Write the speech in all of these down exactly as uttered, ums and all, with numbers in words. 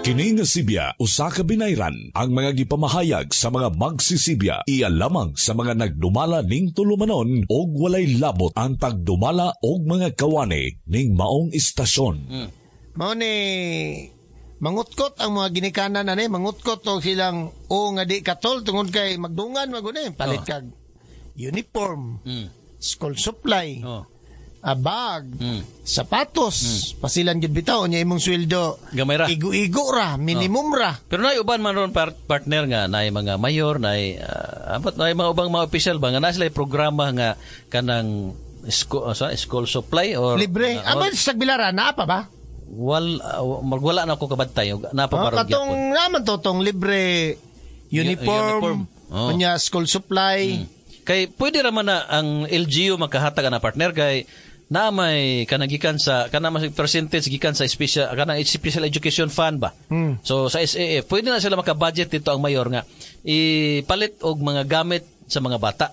Kini nga Sibya usa ka binayran ang mga gipamahayag sa mga magsisibya iya lamang sa mga nagdumala ning tulumanon og walay labot ang tagdumala og mga kawani ning maong istasyon. Mm. Mao ni mangutkot ang mga ginikanan ani, mangutkot og silang o nga di katol tungod kay magdungan maguni palit oh. kag uniform, mm. school supply, oh. a bag, mm. sapatos, mm. pasilan gid bitaw nya imong sweldo. Gamay ra. Igo-igo ra, minimum oh. ra. Pero nay uban man ron par- partner nga nay mga mayor, nay uh, abot nay mga ubang mga official ba nga naa sila programa nga kanang school, uh, school supply or libre. Uh, Amo sa Tagbilaran naa pa ba? Wal uh, wala na ako kabantay. Naa pa oh, ba ron katong naman to tong libre uniform, uniform. Oh. Unya school supply. Mm. Kay pwede ra man na ang L G U makahatag na partner kay na may kanagikan sa kana mas percentage gikan sa special kanang special education fund ba. Mm. So sa S A F pwede na sila maka-budget dito ang mayor nga ipalit og mga gamit sa mga bata.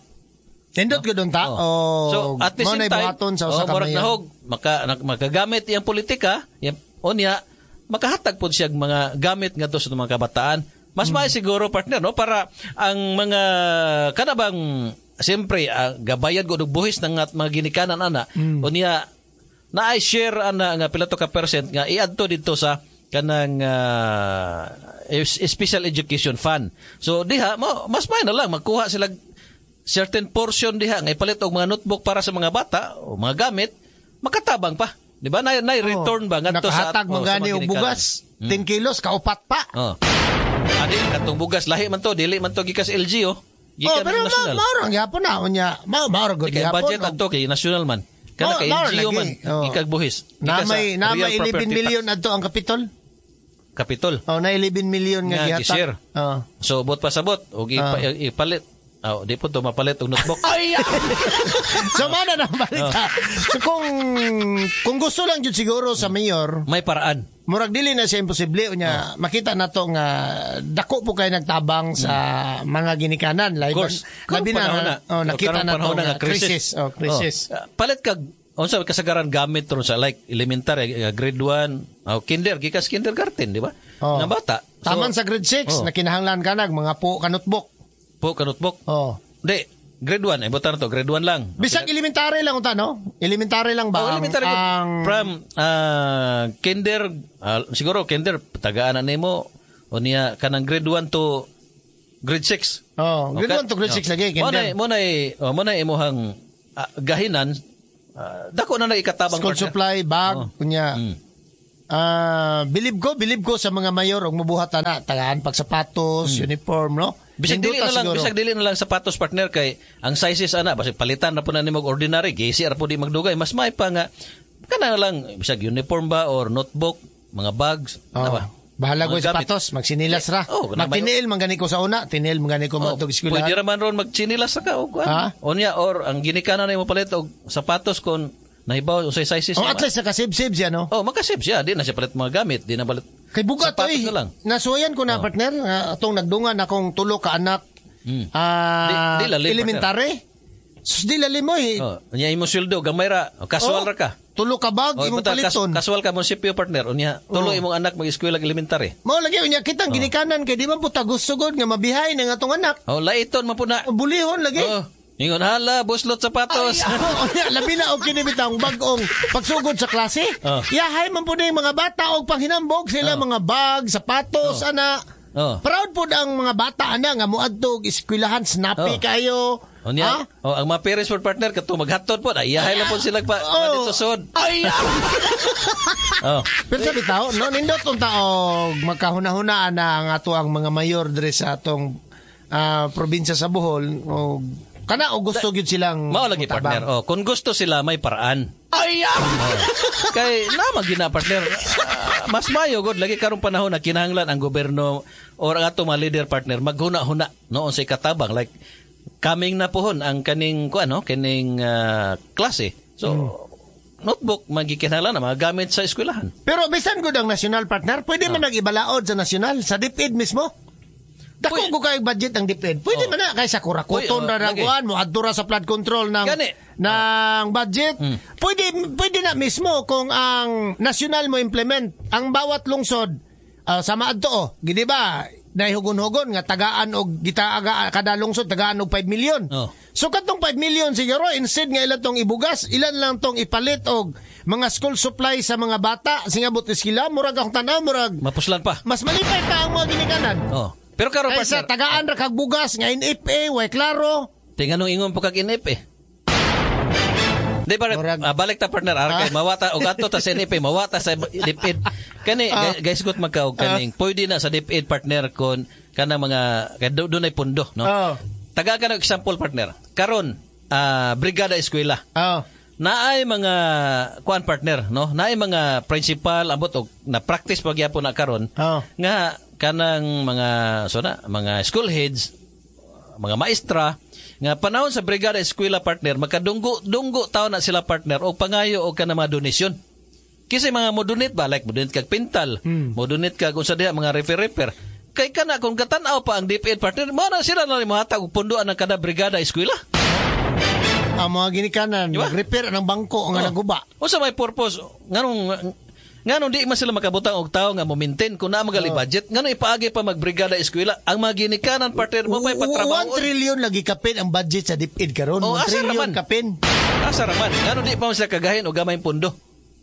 Nindot no? Gud ta. Oh. Oh. So at the same time, sa usa oh, ka mayor. Nahog, maka makagamit iyang politika, iyang unya makahatag pod siya mga gamit ngadto sa mga kabataan. Mas mm. maayo siguro partner no para ang mga kanabang siyempre, uh, gabayad ko og buhis ng at mga ginikanan ana. Mm. Unya naay share ana nga pila to ka percent nga iadto didto sa kanang uh, special education fund. So diha mo mas may na lang magkuha sila certain portion diha nga ipalit og mga notebook para sa mga bata o mga gamit, makatabang pa. Di ba? Nay, nay return ba ngadto sa nakahatag oh, man gani og bugas, mm. ten kilos kaupat pa. Oh. Adi katong bugas lahi man to, dili man to gikas L G oh. Oh, pero ma mao ra gyapon na unya. Mao mao ra gud gyapon. Budget adto kay national man. Kana kay L G U man gikag buhis. Na may na may eleven million adto ang Kapitol. Kapitol. Oh, na eleven million nga gihatag. Oh. So bot pa sabot og ipalit. Oh, di po to mapalit og notebook. Ay. So mana na balita. Oh. So kung kung gusto lang jud siguro sa mayor, may paraan. Murag dili na siya imposible unya oh. makita nato nga dako po kay nagtabang sa mm. mga ginikanan labi labi na, na oh, nakita nato nga crisis. Oh, crisis. Oh. Palit kag unsa kasagaran gamit ron sa like elementary grade one, oh, kinder gikas kindergarten, di ba? Oh. Nga bata. So, taman sa grade six oh. na kinahanglan ka nag mga po ka notebook. Po ka notebook. Oh. Di, grade one, eh, buta na to, grade one lang. Bisag elementary lang unta, no? Elementary lang ba? Oh, elementary. Ang, from uh, kinder, uh, siguro kinder, tagaan na nimo, o niya, kanang grade one to grade six. Oh, grade okay? one to grade six oh. lagi, kinder. Mo na, mo na, imuhang uh, gahinan, uh, dako na naikatabang. School partner. Supply, bag, oh. kunya. Mm. Uh, bilib ko, bilib ko sa mga mayor og mubuhat na tagaan pag sapatos, mm. uniform, no? Bisag dili na lang, bisag dili na lang sapatos partner kay ang sizes ana basig palitan na po na nimo ordinary, gisi ra po di magdugay, mas may pa nga kana lang bisag uniform ba or notebook, mga bags, oh. na ba? Bahala ko sapatos, magsinilas ra. Oh, magtiniil man gani ko sa una, tiniil man gani ko oh, matug eskwelahan. Pwede ra man ron magtsinilas ra ka og kuan. Unya or ang ginikanan nimo palit og sapatos kon nahibaw unsay sizes oh, at least nakasibsib siya, no? Oh, makasib siya. Di na siya palit mga gamit. Di na palit. Kay bugat, sapatos oy. na lang. Nasuwayan ko na, oh. partner. Uh, atong nagdungan akong tulo ka anak. Mm. Uh, di, di lalim, elementary. Sus, di lalim mo, eh. Oh, unya imo sweldo, gamay ra. Casual oh, ra ka. Tulo ka bag, oh, imong buta, paliton. Kas, casual ka munisipyo, partner. Unya, tulo oh. imong anak mag-eskwela elementary. Mao lagi, unya kitang oh. ginikanan kay di man puta gusto gud nga mabihay ng atong anak. Oh, laiton man po na. Oh, bulihon lagi. Oh. Ingon hala, buslot sapatos. Ay, oh, labi na og kini bitang bag-ong pagsugod sa klase. Oh. Yahay man pud mga bata og panghinambog sila oh. mga bag, sapatos oh. ana. Oh. Proud pud ang mga bata ana nga moadto og eskwelahan, snappy oh. kayo. Unya, Ha? oh, ang mga parents for partner kato maghatod pod, ay yahay lang pod sila pa Oh. dito sod. Ay. Oh. Pero sa bitaw, no nindot unta og magkahuna-hunaan na ang ato ang mga mayor diri sa atong ah, probinsya sa Bohol og kana og gusto gyud silang Mao lagi mutabang. partner. Oh, kung gusto sila may paraan. Ay. Oh. Kay naman gina partner. Ah, mas mayo god lagi karong panahon na kinahanglan ang gobyerno or ang ato mga leader partner maghuna-huna no unsay katabang like coming na pohon ang kaning kuan no kining ah, klase. So Hmm. notebook magikinahanglan na mga gamit sa eskwelahan. Pero bisan gud ang national partner, pwede man nag-ibalaod sa national, sa DepEd mismo. Dako Pwede. ko kay budget ang DepEd. Pwede Oh. man na kay sa kurakuton Pwede, oh, ra lagi. kuan mo adto ra sa flood control ng Gani. ng budget. Mm. Pwede pwede na mismo kung ang national mo implement ang bawat lungsod Ah, sama adto oh, gini ba nahihugon-hugon nga tagaan og gitaaga kada lungsod tagaan og five million. Oh. So katong five million siguro instead nga ilan tong ibugas, ilan lang tong ipalit og mga school supply sa mga bata singabot eskwela, murag akong tan-aw murag Mapuslan pa. Mas malipay pa ang mga ginikanan. Oh. Pero karon Kaysa partner, tagaan ra kag bugas nga N F A, way klaro. Tinganong ingon po kag N F A. Di ba, Murag- ah, balik ta partner, ah, kay mawata og adto ta sa N F A, mawata sa DepEd. Kani Ah. ah. Guys, gut magka og kaning pwede na sa DepEd partner kon kanang mga kay do, dunay pundo, no? Oh. Taga ka ng example partner. Karon, ah, brigada eskwela. Oh. Naay mga kuan partner, no? Naay mga principal ambot og na practice pagyapon na karon Oh. nga kanang mga so na, mga school heads, mga maestra nga panahon sa brigada eskwela partner makadunggo dunggo taon na sila partner og pangayo og kanang mga donasyon. Kasi mga mo-donate ba like mo-donate kag pintal, Hmm. mo-donate kag unsa diha mga refer-refer. Kay kana kung gatan-aw pa ang DepEd partner, mao na sila na mohatag og punduan ang kada brigada eskwela. Ang mga ginikanan, Di ba? nag-repair ng bangko nga Oh. naguba. Unsa may purpose nganong nganong di man sila makabutang og tawo nga mo-maintain kung naa magali Oh. budget, nganong ipaagi pa magbrigada eskwela ang mga ginikanan partner mo pay patrabaho. one trillion lagi kapin ang budget sa DepEd karon. Oh, one asa trillion raman? kapin. Asa raman? Nganong di pa man sila kagahin og gamay pundo?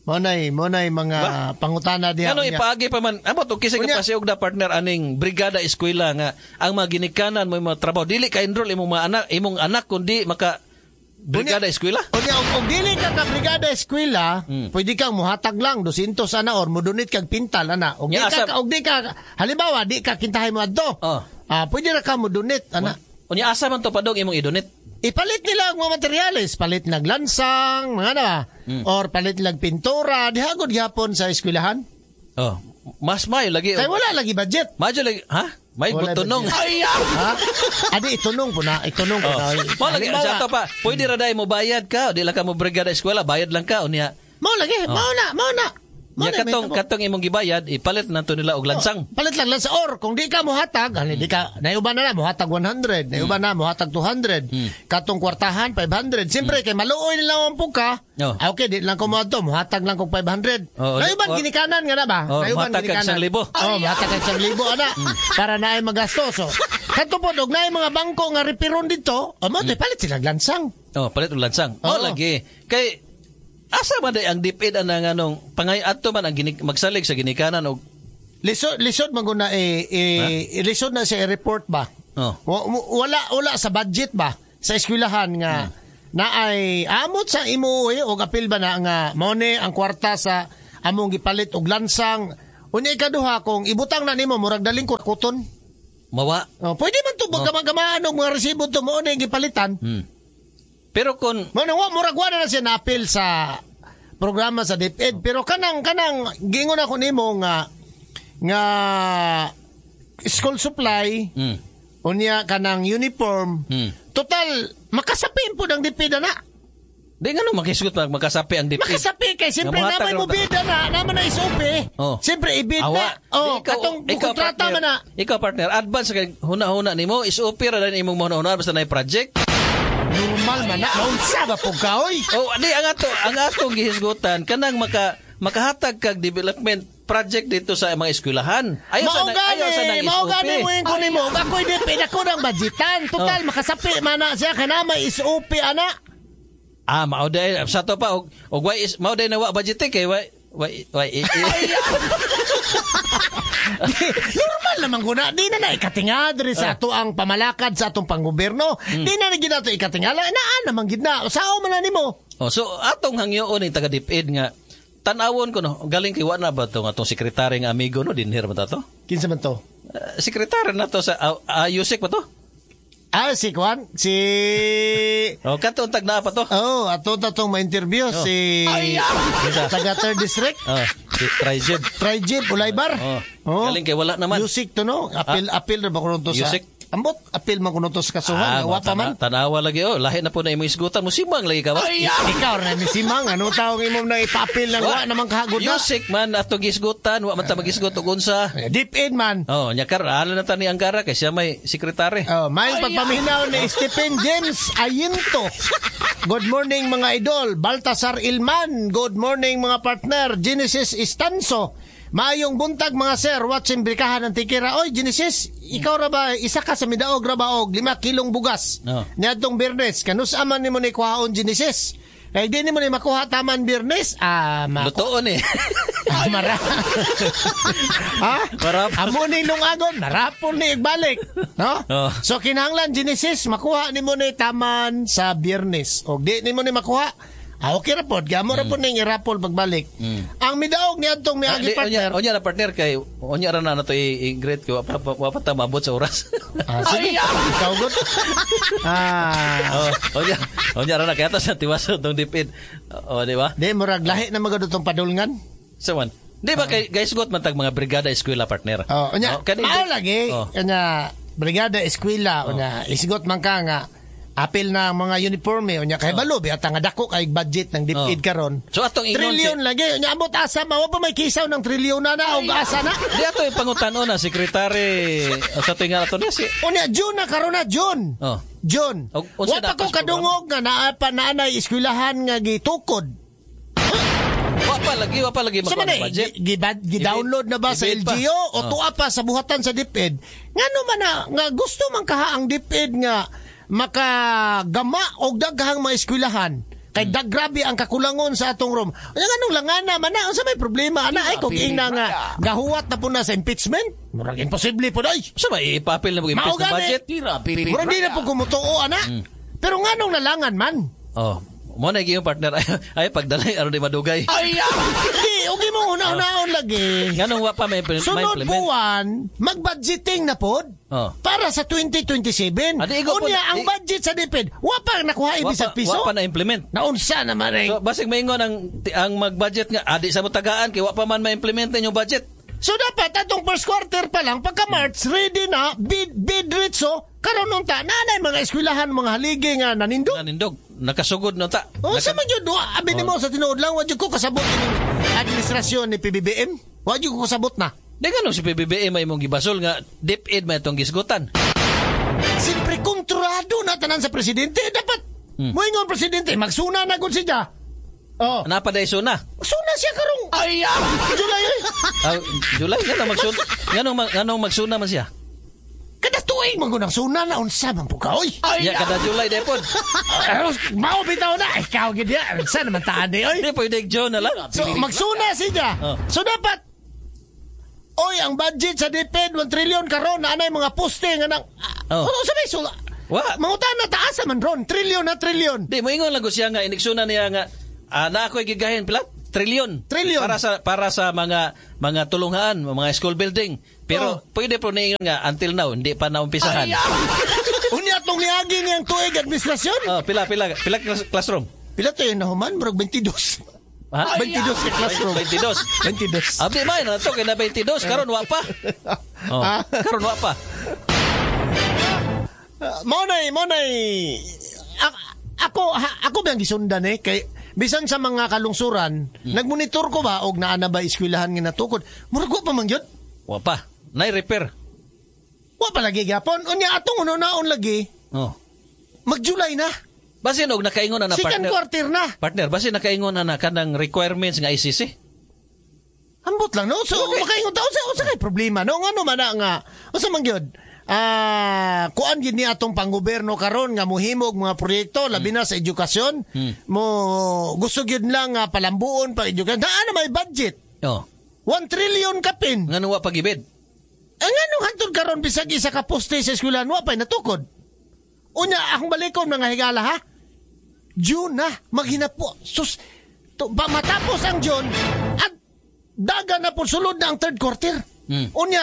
Mo nay, mo nay mga Ba? pangutana diha. Ngano unya. ipaagi pa man amo to kisay Unya. ka pasiog na partner aning brigada eskwela nga ang mga ginikanan mo mga trabaho dili ka enroll imong mga anak imong anak kundi maka brigada Unya. eskwela. Unya og, og dili ka ka brigada eskwela, Hmm. pwede kang muhatag lang two hundred ana or modonate kag pintal ana. Og di Nya, ka asa- og di ka halimbawa di ka kintahay mo adto. Oh. Ah, pwede ra ka modonate ana. Unya asa man to padong imong i-donate? Ipalit nila ang mga materyales, palit naglansang, mga na, Hmm. or palit nag pintura, dihagod gihapon sa eskwelahan. Oh, mas may lagi. Kay wala lagi budget. Madyo lagi, ha? May Wala butunong. budget. Ha? Adi itunong po na, itunong po Oh. na. Mao lagi Halimbawa, sa ato pa, pwede ra dai mo bayad ka, di lang ka mo brigada eskwela, bayad lang ka unya. Mao lagi, mao na, mao na. Mao Nya na, katong may tabo. katong imong gibayad, ipalit nato nila og lansang. Palit lang lang sa or kung di ka mohatag, ano, di ka naiuban na na mohatag one hundred, naiuban na mohatag two hundred. Hmm. Katong kwartahan five hundred. Siyempre kay maluoy nila ang puka. Oh. Ah, okay, di lang ko moadto, mohatag lang kog five hundred. Oh, naiuban or- ginikanan nga na ba? Oh, Naiuban mohatag kag ginikanan. one thousand. Oh, mohatag kag one thousand ana para naay magasto. So, kadto pod og naay mga bangko nga repiron dito, oh, mo palit sila lansang. Oh, palit og lansang. Mao Oo. lagi. Kay asa man day ang DepEd ang anong pangay adto man ang ginik, magsalig sa ginikanan og Lisod lisod man gud na eh, eh lisod na siya i-report ba? Oh. Wa- Wala wala sa budget ba sa eskwelahan nga Hmm. na ay amot sa imo eh, og apil ba na nga mao ni ang kwarta sa among gipalit og lansang. Unya ikaduha kung ibutang na nimo murag daling kuton. Mawa. Oh, pwede man to oh. og mga resibo to mo ni gipalitan. Hmm. Pero kung Mo na wa murag wa na, na siya naapil sa programa sa DepEd pero kanang kanang giingon ako nimo nga nga school supply mm, unya kanang uniform, Mm. total makasapin po ng DepEd na. Di nga no makisgot mag makasapi ang DepEd. Makasapi kay siyempre Nga naman mohatag mo bida na naman na S O P. Oh. Siyempre ibid Awa. na oh Di, ikaw- katong ikaw, kontrata partner, man na. Ikaw partner, advance kay huna-huna nimo is opera ra imong huna-huna basta na project. Normal man na naunsa ba pug ka oy? Oh, di ang ato ang atong gihisgutan kanang maka makahatag kag development project dito sa mga eskwelahan. Ayaw sa Mao ayaw sa gani, nang mao S O P. gani mo yung kunin mo. Ako'y DepEd, ako ng budgetan. Total, Oh. makasapi man na siya. Kaya na may S O P, ana. Ah, mao day sa to pa og og why is mao day na wa budget eh, kay why why why Normal naman ko na. Di na na ikatinga diri Ah. sa ato ang pamalakad sa atong panggobyerno. Hmm. Di na na gid nato ikatingala. Naa naman gid na. Sao man na nimo? Oh, so atong hangyoon ni taga DepEd nga tan-awon ko no, galing kay wa na ba to nga atong sekretary nga amigo no dinher ba ta to? Kinsa man to? Uh, sekretary na to sa uh, uh, Yusek ba to? Ah, si Juan, si Oh, kato tag naa pa to. Oh, ato ta tong ma-interview Oh. si Kinsa? taga third District. Oh, si Trijeb. Trijib Ulaybar. Oh. Galing kay wala naman. Music to no. Apil apil ra ba kuno to sa Music? Ambot apil man kuno to sa kasuhan. Ah, Wa pa man. Tanawa lagi oh, lahi na po na imong isgutan mo simang lagi ka ba? Ikaw ra ni Simang, ano taong imong na ipapil ng wa naman kahagod na. Music man ato gisgutan, wa man ta magisgot og unsa. Deep in man. Oh, nya kar ala na ta ni Angara kay siya may sekretary. Oh, may pagpaminaw ni Stephen James Ayinto. Good morning mga idol. Baltasar Ilman. Good morning mga partner. Genesis Istanso. Maayong buntag mga sir, watching brikahan ng tikira. Oy, Genesis, ikaw ra ba isa ka sa midaog ra ba og lima kilong bugas? Oh. Niadtong Biyernes, kanus aman nimo ni kuhaon Genesis? Kay di nimo ni makuha taman Biyernes, ah, maku- Lutoon eh. Ah, mara. ha? Marapon. Amo ni lungagon, narapon ni igbalik, no? Oh. So kinahanglan Genesis makuha nimo ni taman sa Biyernes. Og di nimo ni makuha, ah, okay ra pod, gamo ra pod ning irapol pagbalik. Ang midaog ni adtong Hmm. Ah, miagi di, onya, partner. onya na partner kay onya ra na nato i-greet ko wa pa wa pa ta maabot sa oras. Ah, sige, ikaw gud. Ah, oh, onya onya ra na kaya ta sa tiwaso tong DepEd. Oh, di ba? di murag lahi na magud tong padulngan. So man. Di ba kay guys got man tag mga brigada eskwela partner. Oh, unya, Oh, kani- mao lagi, Oh. unya brigada eskwela, unya isgot man ka nga apil na ang mga uniforme, unya kay balo biya nga dako kay budget ng DepEd Oh. karon. So atong ingon Trilyon si- lagi, unya ambot asa ma wa pa may kisaw ng trilyon na na og asa na. Di ato yung pangutan-on na sekretary sa tuwing nga ato niya si Unya June na karon na June. Oh. June. Og, unsa Wa pa na ko pas kadungog nga naa pa naanay eskwelahan nga gitukod. Wa pa lagi, wa pa lagi Sa makuha man ng budget. eh, gi- gi- gi-download na ba sa I-bid pa. L G U o Oh. tuwa pa sa buhatan sa DepEd? Ngano man na, nga gusto man kaha ang DepEd nga makagama og daghang mga eskwelahan. Kay Hmm. dag grabe ang kakulangon sa atong room. Unya nganong langana man na unsa may problema ana ay kung ingna nga gahuwat na po na sa impeachment? Murag imposible po day. Sa ba ipapil na mo Mao impeach ng gani. budget? Murag di na po kumutuo ana. Hmm. Pero nganong nalangan man? Oh, mo na yung partner ay, ay pagdalay aron di madugay. Di, okay mo una-unaon lagi. Nganong wa pa may Sunod ma-implement? buwan, mag-budgeting na pod. Oh. Para sa twenty twenty-seven. Ah, di, ikaw po- Unya, ang di- budget sa DepEd, wa pa nakuha Wa ibisag pa, piso. wa pa na-implement. Naunsa naman eh. So basig maingon ang ang mag-budget nga adi sa mo tagaan kay wa pa man ma-implement yung budget. So dapat atong first quarter pa lang, pagka March, ready na, bid, bid ritso, karon unta, nanay mga eskwelahan, mga haligi nga nanindog. Nanindog, nakasugod na ta. O Naka- sa man yun, wa, abi nimo sa tinuod lang, wa jud ko kasabot ining administrasyon ni P B B M. Wa jud ko kasabot na. Di ganun si P B B M may imong gibasol nga DepEd may itong gisgutan. Siyempre, kontrolado na tanan sa presidente. Dapat, Hmm. moingon presidente, magsuna na gud siya. Oh. Napaday suna. Suna siya karong. Ay, July ay. Ah, July nga magsuna. Nganong nganong magsuna man siya? Kada tuig man gud ang suna na unsa man po ka oy. Ya kada July depod. Ay, mao bitaw na ikaw gid ya. Unsa naman taan di oy. Di pwede June na lang. So magsuna siya. Oh. So dapat oy, ang budget sa DepEd one trillion karon na anay mga poste nga nang Oh. oh. Sa may sula. Wa. Mangutan na taasa man ron, trillion na trillion. Di moingon lang ko siya nga iniksuna niya nga ah, na ako'y gigahin pila trilyon. Trilyon. Para sa para sa mga mga tulunghaan, mga school building. Pero Oh. pwede po niingon nga until now hindi pa naumpisahan. Unya tong niagi niyang tuig administrasyon. Oh, pila pila pila class- classroom. Pila to yun nahuman? Murag twenty-two. Ha? twenty-two sa classroom. twenty-two. twenty-two. Abi may na to kay na twenty-two karon wa pa. Oh, Ah. karon wa pa. Uh, mao nay, mao nay a- ako ha, ako ba ang gisundan eh kay bisan sa mga kalungsuran, Hmm. nagmonitor ko ba og naa na ba eskwelahan nga natukod. Murag wa pa man gyud. Wa pa. Nay repair. Wa pa lagi gyapon. Unya atong uno-naon lagi, Oh. mag-July na. Basin og nakaingon na na Second partner. quarter na. Partner, basin nakaingon na na kanang requirements nga I C C. Ambot lang no. So okay. Makaingon ta unsa unsa kay problema no ngano man na nga unsa man gyud? Ah, kuan gid ni atong panggobyerno karon nga mohimog mga proyekto labi na sa edukasyon. Mo gusto gyud lang nga palambuon pa edukasyon. Naa na may budget. Oh. one trillion kapin. Ngano wa pagibid? Ang anong hantod karon bisag isa ka poste sa eskwelahan wa pay natukod. Unya akong balikon mga higala ha. June na maghinapo. Sus to, ba, matapos ang June at daga na po sulod na ang third quarter. Mm. Unya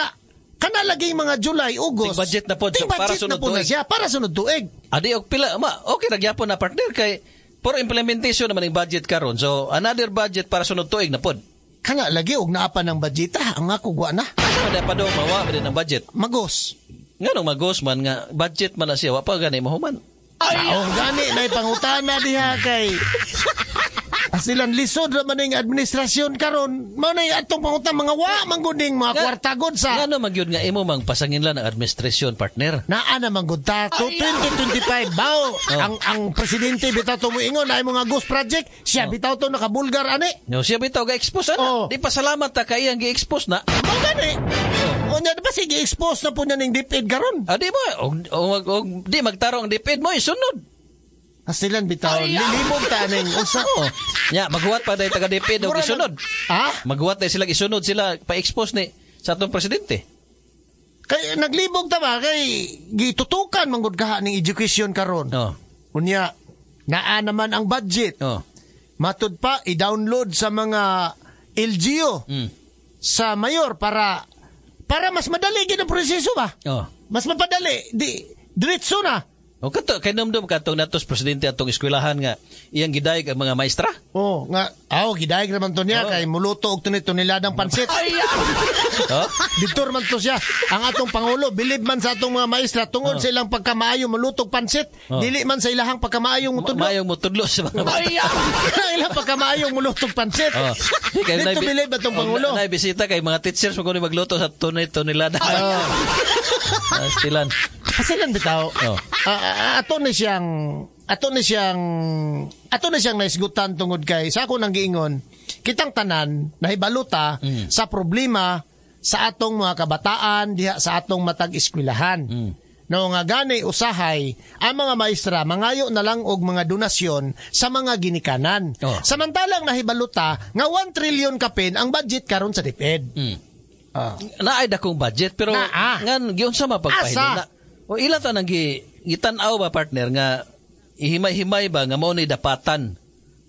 kana lagi mga July, August. Ting budget na pod, Ting so, para budget na sunod po na tuig. siya para sunod tuig. Adi og pila ma okay ra gyapon na partner kay puro implementation naman ang budget karon. So another budget para sunod tuig na pod. Kana lagi og naa pa ng budgeta ang ako gwa na. Asa man pa do mawa pa din ang budget. Magos. Nganong magos man nga budget man na siya wa pa gani mahuman. Ay, oh, gani na pangutana diha kay Silang lisod ra man ning administrasyon karon. Mao na atong pangutang mga wa man gud ning mga kwarta gud sa Ngano man gyud nga imo mang pasanginlan ang administrasyon, partner? Naa naman gud ta to twenty twenty-five bao Oh. ang ang presidente bitaw to moingon ay mga ghost project siya bitaw to nakabulgar ani. No, siya bitaw ga-expose ana. Oh. Di pa salamat ta kay iyang gi-expose na. Mao gani. Unya di ba sige expose na po niya ning DepEd karon? Ah, di ba? Og, og, og, di magtarong ang DepEd mo isunod. Asilan bitaw lilibog ta ning usa. Oh. Nya, maghuwat pa dahil taga DepEd og Mura na- isunod. Ha? Maghuwat dahil sila isunod sila pa-expose ni sa atong presidente. Kay naglibog ta ba kay gitutukan man gud kaha ning education karon. Oh. Unya naa naman ang budget. Oh. Matud pa i-download sa mga L G U Mm. sa mayor para para mas madali gid ang proseso ba? Oh. Mas mapadali, di diretso na. O kato kay numdum katong natos presidente atong eskwelahan nga iyang gidayeg ang mga maestra. Oh, nga aw gidayeg naman to niya Oh. kay muluto og tunit-tuniladang pansit. Oh. Diktor man to siya. Ang atong pangulo bilib man sa atong mga maestra tungod sa ilang pagkamaayo mulutog pansit, Oh. dili man sa ilahang pagkamaayong mutudlo. Maayong mutudlo sa mga bata. Ilang pagkamaayong mulutog pansit. Oh. Di, kay Dito nay- bilib atong oh, pangulo. Nay bisita kay mga teachers mo kuno magluto sa tunay tonelada. Oh. Ah, stilan. Pasilan bitaw. Oh. Ah, ah, ato ni siyang ato ni siyang ato ni siyang naisgutan tungod kay sa ako nang giingon kitang tanan nahibaluta Mm. sa problema sa atong mga kabataan diha sa atong matag eskwelahan. Mm. No nga gani usahay ang mga maestra mangayo na lang og mga donasyon sa mga ginikanan. Oh. Samantalang nahibaluta nga one trillion kapin ang budget karon sa DepEd. Mm. Ah. Naay dakong budget pero Naa. ngan giunsa mapagpahilom Asa? na. O ila ta nang gi gitan-aw ba, partner, nga ihimay-himay ba nga mao ni dapatan.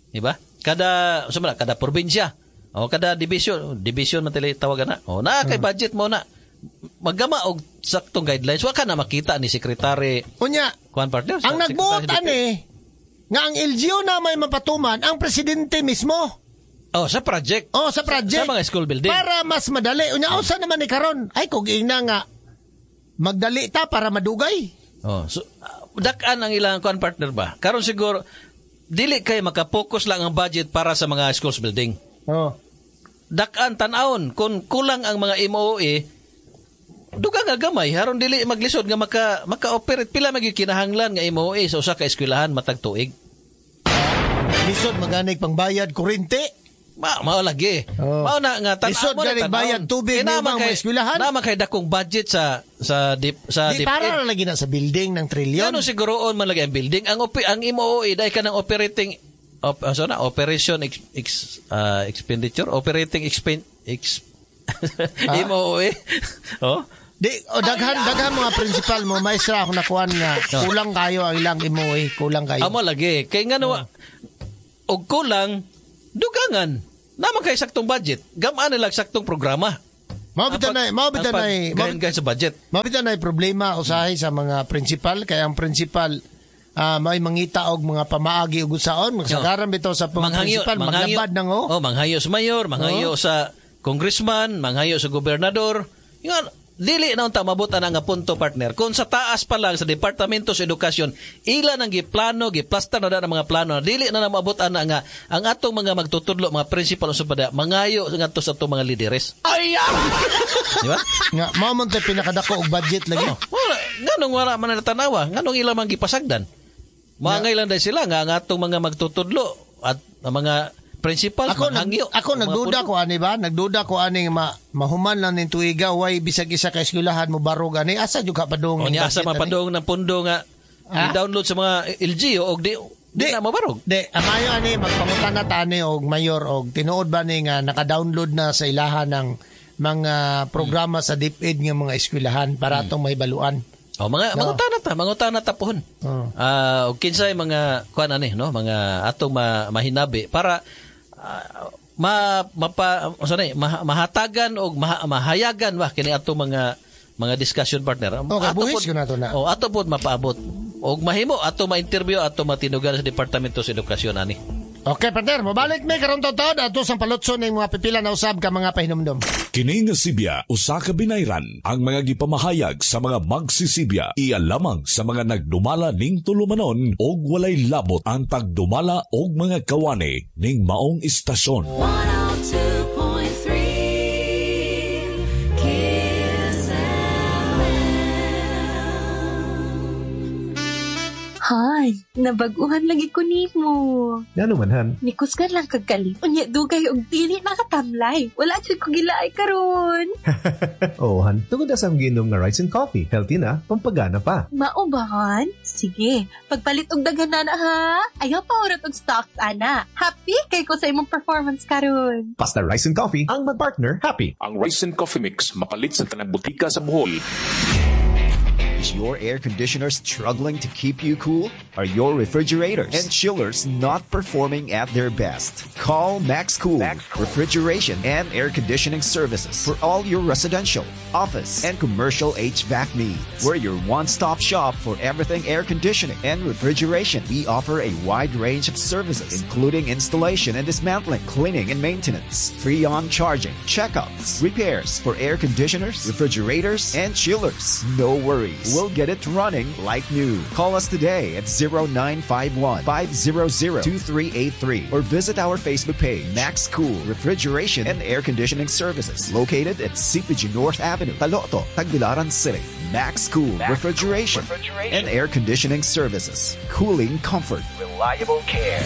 Di ba? Kada unsa man na, kada probinsya o kada division, division man tila tawagan na. O naa kay budget mo na. Maggama og saktong guidelines wa ka na makita ni sekretary Unya, kuan, partner. ang sa nagbuot Secretary DepEd. ani nga ang L G U na may mapatuman ang presidente mismo. Oh, sa project. Oh, sa project. Sa mga school building. Para mas madali. Unya usa naman ni karon. Ay kung ingna nga magdali ta para madugay. Oh, so uh, dak-an ang ilang kuan, partner ba? Karon siguro dili kay makapokus lang ang budget para sa mga schools building. Oh. Dak-an tan-awon kung kulang ang mga M O A, dugang nga gamay haron dili maglisod nga maka maka-operate. Pila magyud kinahanglan nga M O A sa usa ka eskwelahan matag tuig? Lisod maganig pangbayad kuryente. Ma mao lagi. Oh. Mao na nga tan Lisod mo na ganing tan-awon. bayad tubig Kaya ni naman ubang kay mga eskwelahan. Naman kay dakong budget sa sa dip, sa Di DepEd. para na lagi na sa building ng trilyon. Ngano siguroon man lagi ang building ang opi, ang M O A dai ka ng operating op, ano na operation ex, ex, ah, expenditure, operating expen ex M O A, oh. Di o daghan daghan mga principal mo maestra ako nakuan nga Oh. kulang kayo ang ilang M O A, kulang kayo. Amo lagi kay ngano Oh. og kulang dugangan naman kay saktong budget, gamaan nila saktong programa. Mao bitaw na mao bitaw na gayon gayon sa budget. Mao bitaw na problema usahay sa mga principal kay ang principal ah, may mangita og mga pamaagi ug usaon magsagaran bitaw sa mga principal maglabad nang oh. Oh, manghayo sa mayor, manghayo sa congressman, manghayo sa gobernador. Nga dili na unta mabot ana nga punto, partner. Kung sa taas pa lang sa Departamento sa Edukasyon, ila nang giplano, giplastar na na ang mga plano, dili na na maabot ana nga ang atong mga magtutudlo, mga principal sa pada, mangayo ngadto sa atong mga lideres. Di ba? Nga mao man tay pinakadako og budget lagi. Oh, wala. Nganong wala man na tanawa? Nganong ila man gipasagdan? Maangay lang dahil sila nga ang atong mga magtutudlo at ang mga principals Ako nag, manghangyo. ako Mga nagduda puno. ko ani ba? Nagduda ko ani ma, mahuman lang ning tuiga way bisag isa ka eskwelahan mo barog ani asa jud ka padung O ning niya asa budget ani? mapadong ng pundo nga Ah? i-download sa mga L G U og di, di, na mabarog. Di, amayo ani magpangutan na ta ani og mayor og tinuod ba ni nga naka-download na sa ilahan ng mga programa sa DepEd nga mga eskwelahan para atong mahibaluan. O mga No. mangutana ta, mangutana ta pohon. Oh. Ah, og kinsay mga kuan ani no, mga atong ma, mahinabi para ah, ma mapa unsa na eh, ma, mahatagan og maha, mahayagan ba kini atong mga mga discussion, partner. Okay, Ato buhis pod- ko na to na. Oh, ato pod mapaabot og mahimo ato ma-interview, ato matinugan sa Departamento sa Edukasyon ani. Okay, partner, mobalik mi karon taud ato sang palutson ning mga pipila na usab ka mga pahinumdom. Kini nga sibya usa ka binayran ang mga gipamahayag sa mga magsisibya iya lamang sa mga nagdumala ning tulumanon og walay labot ang tagdumala og mga kawani ning maong istasyon. one oh two point three Kiss F M. Hay, nabag-uhan lagi ko nimo. Ngano man, Han? Nikusgan lang kag kalit. Unya dugay og dili nakatamlay. Wala jud ko gilaay karon. Oo, Han. Tungod na sa akong giinom nga rice and coffee. Healthy na, pampagana pa. Mao ba, Han? Sige, pagpalit og daghan na na ha. Ayaw pa hurot og stocks ana. Happy kay ko sa imong performance karon. Basta rice and coffee, ang mag-partner, happy. Ang Rice and Coffee Mix mapalit sa tanang butika sa Bohol. Is your air conditioner struggling to keep you cool? Are your refrigerators and chillers not performing at their best? Call Max Cool Refrigeration and Air Conditioning Services for all your residential, office, and commercial H V A C needs. We're your one-stop shop for everything air conditioning and refrigeration. We offer a wide range of services, including installation and dismantling, cleaning and maintenance, free on charging, checkups, repairs for air conditioners, refrigerators, and chillers. No worries. We'll get it running like new. Call us today at zero nine five one five zero zero two three eight three or visit our Facebook page, Max Cool Refrigeration and Air Conditioning Services, located at C P G North Avenue, Taloto, Tagbilaran City. Max Cool Refrigeration and Air Conditioning Services. Cooling comfort. Reliable care.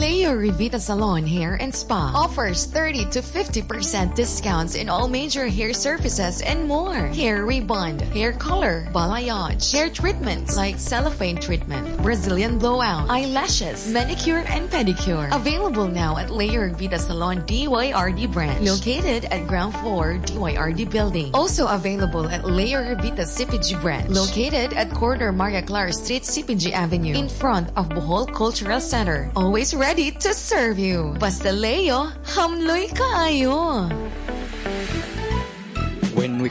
Leo Revita Salon Hair and Spa offers thirty to fifty percent discounts in all major hair services and more. Hair rebond, hair color, balayage, hair treatments like cellophane treatment, Brazilian blowout, eyelashes, manicure and pedicure. Available now at Leo Revita Salon D Y R D branch, located at ground floor D Y R D building. Also available at Leo Revita C P G branch, located at corner Maria Clara Street, C P G Avenue, in front of Bohol Cultural Center. Always ready to serve you. Basta Leo, hamloy kaayo.